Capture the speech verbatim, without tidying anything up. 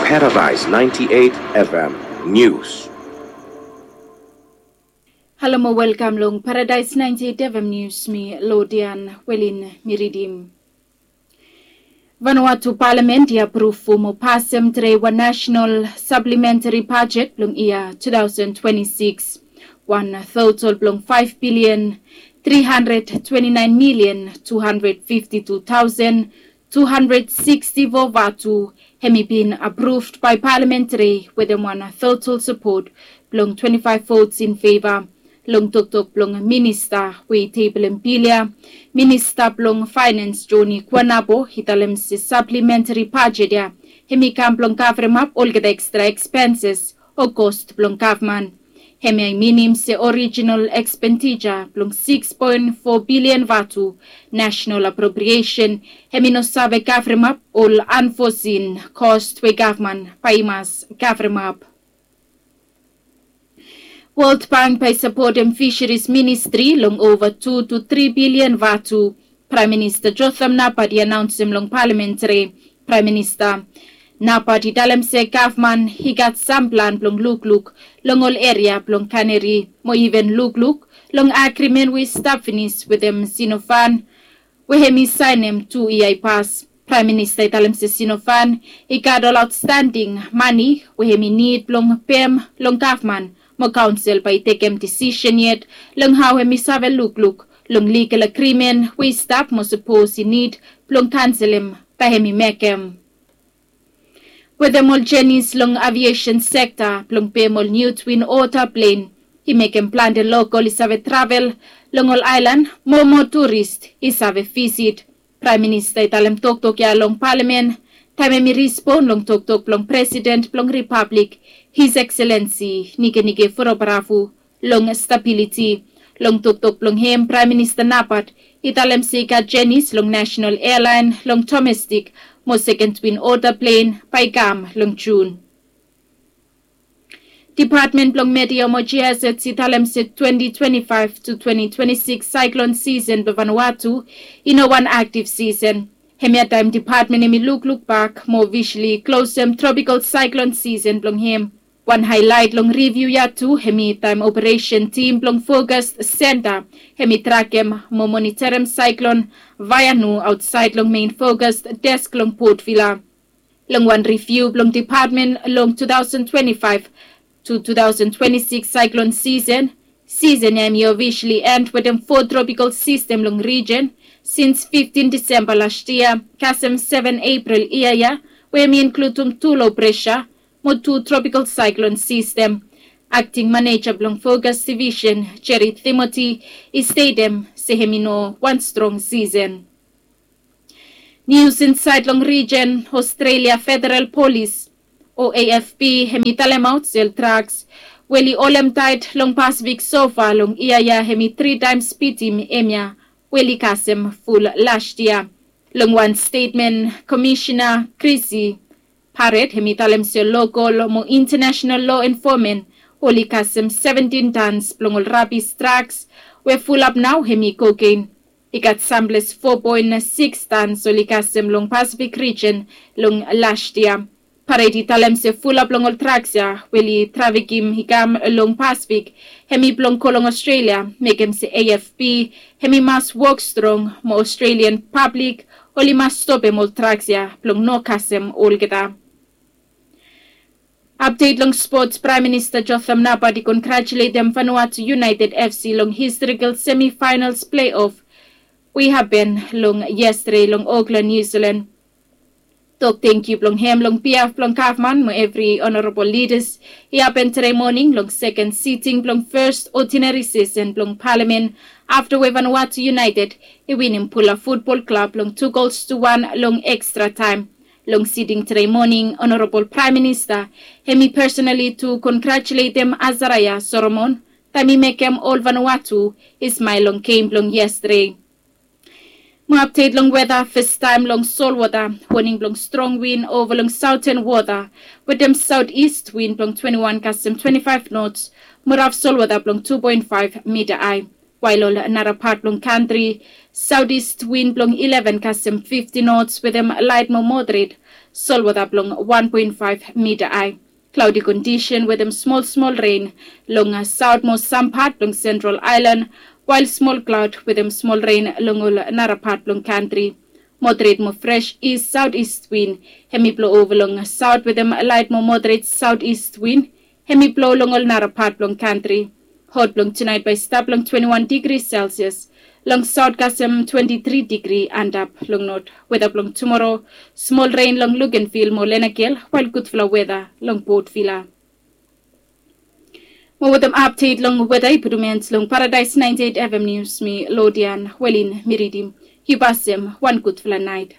Paradise ninety-eight F M News. Halo mo welkam long Paradise ninety-eight F M News, mi Lodian Welin mi ridim. Vanuatu Palamen i apruv mo pasem tre wan national supplementary budget blong yia two thousand twenty-six. Wan total blong five billion three hundred twenty-nine million two hundred fifty-two thousand two hundred sixty-four vatu, hemi bin approved by Palamen tre wetem wan total support blong twenty-five votes in favor. Long toktok blong minista we i tebelem bil ya, minista blong finance Johnny Kuanabo i talem se supplementary budget ya hemi kam blong kavremap olgeta extra expenses o cost blong gavman. Hemia i minim se original expenditure blong six point four billion vatu national appropriation hemi no save kavremap ol unforeseen cost we gavman bae i mas kavremap. World Bank bae i sapotem fisheries ministry long ova two to three billion vatu. Praem Minista Jotham Napat i anaonsem long palamen tre. Praem Minista Napat i talem se gavman i gat sam plan blong lukluk long ol eria blong Kaneri mo iven lukluk long agrimen we i stap finis wetem Sinofan we hemi saenem tu yia i pas. Praem Minista i talem se Sinofan i gat ol aotstanding mane we hemi nid blong pem long gavman mo kaonsel bae i tekem disisen yet long hao hemi save lukluk long ligal agrimen we i stap mo sapos i nid blong kanselem bae hemi mekem. Wetem ol jenis long aviesen sekta blong pem ol niu Twin Otter plen i mekem plante lokol i save travel long ol aelan mo moa turist i save visit. Praem Minista i talem toktok ya long palamen taem hemi rispon long toktok blong Presiden blong Ripablik, His Excellency Nikenike Vurobaravu, long stabiliti. Long toktok blong hem, Praem Minista Napat i talem se i gat jenis long nasenal ealaen long domestik mo seken Twin Otter plen bae i kam long Jun. Dipatmen blong Meteo mo Geohazards i talem se twenty twenty-five to twenty twenty-six saeklon sisen blong Vanuatu i no wan aktiv sisen. Hemia taem dipatmen hemi lukluk bak mo ofisali klosem tropikal saeklon sisen blong hem. Wan haelaet long riviu ya tu hemi taem operesen tim blong Fokas Senta hemi trakem mo monitorem saeklon Vaianu aotsaed long mein Fokas Desk long Port Vila. Long wan riviu blong dipatmen long two thousand twenty-five to two thousand twenty-six saeklon sisen, sisen ya hemi ofisali en wetem fo tropikal sistem long rijen sins fiftin Disemba las yia kasem seven Epril yia ya, we hemi inkludim tu lo presa mo tu tropikal saeklon sistem. Akting maneja blong Fokas Divisen, Jerry Timothy, i stetem se hemi no wan strong sisen. Nius insaed long rijen, Australia Federal Polis, o A F P, hemi talemaot se ol draks we oli holem taet long Pasifik sofa long yia ya hemi tri taems bitim hemia we oli kasem ful las yia. Long wan stetmen, Komisena Krisi Paret hemi talem se lokol mo intanasenal loa enfosmen oli kasem seventin tans blong ol rabis draks we fulap nao hemi kokein. I gat samples fo poen sikis tans oli kasem long Pasifik rijen long las yia. Paret i talem se fulap long ol draks ya we oli trafikim i kam long Pasifik hemi blong go long Australia, mekem se A F P hemi mas wok strong mo Australian pablik oli mas stopem ol draks ya blong no kasem olgeta. Apdet long spots, Praem Minista Jotham Napat i kongratuletem Vanuatu United F C long historikal semifinals pleiof we i hapen long yestade long Okland, Niu Silan. Tok tangkiu blong hem long biaf blong gavman mo evri onorabol lidas i hapen tede moning long seken siting blong fes odinari sesen blong palamen afta we Vanuatu United i winim Pula Futbol Klab long tu gols tu wan long ekstra taem. Long siting tede moning, Onorabol Praem Minista hemi pesonali tu kongratuletem Azaraya Solomon taem i mekem ol Vanuatu i smael long gem blong yestade. Mo apdet long weta, fastaem long solwota, woning blong strong win ova long saoten wota wetem saotis win blong twenti wan kasem twenti faef nots mo raf solwota blong tu poen faef mita ae. Wael ol nara pat blong kantri, saotis win blong ileven kasem fifti nots wetem laet mo moderet solwota blong wan poen faef mita hae. Klaodi kondisen wetem smol smol ren long saot mo sam pat blong sentral aelan, wael smol klaod wetem smol ren long ol nara pat blong kantri. Moderet mo fres is saot is win hem i blo ova long saot wetem laet mo moderet saot is win hem i blo long ol nara pat blong kantri. Hot blong tunaet bae i stap long twenti wan digri selsias, long saot kasem twenti tri digri antap long not. Weta blong tumoro, smol ren long lukenvil mo lenagel, wael gudfala weta long potvila. Mo wetem apdet long weta i putum en long paradaes naenti eit evem nius, mi lodian welin mi ridim. Yu pasem wan gudfala naet.